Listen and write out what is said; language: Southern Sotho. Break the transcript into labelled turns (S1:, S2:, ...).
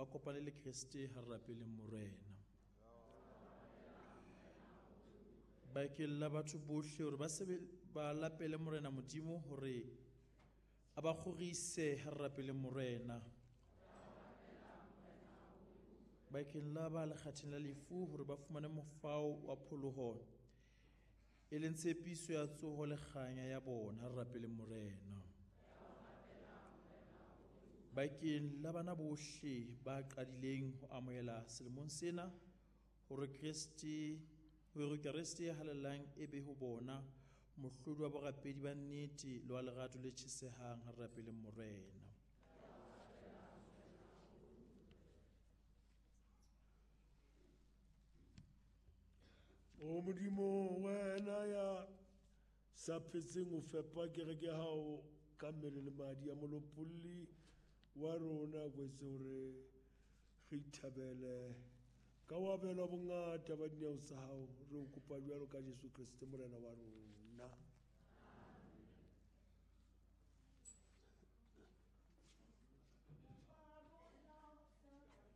S1: ba kopane le Kreste, ha re rapeleng Morena. Bakeng la batho bohle hore ba sebe ba lapele Morena Modimo hore a ba kgorise, ha re rapeleng Morena. Bakeng la ba lekgatheng la lefu hore ba fumane mofao wa pholoho, e leng tshepiso ya tsoho le kganya ya bona, ha re rapeleng Morena. Bakeng la bana bohle ba qadileng ho amohela selemong sena hore Kreste hore Kreste ya halalelang e be ho bona mohlodi wa borapedi ba nnete le wa lerato le tjhesehang, ha re rapeleng Morena.
S2: O Modimo, wena ya sa phetseng ho fepa kereke ya hao ka mmele le madi a molopolli wa rona, o etse hore re ithabele ka ho abelwa bongata ba dineo tsa hao. Re o kopa jwalo ka Jesu Kreste Morena wa rona.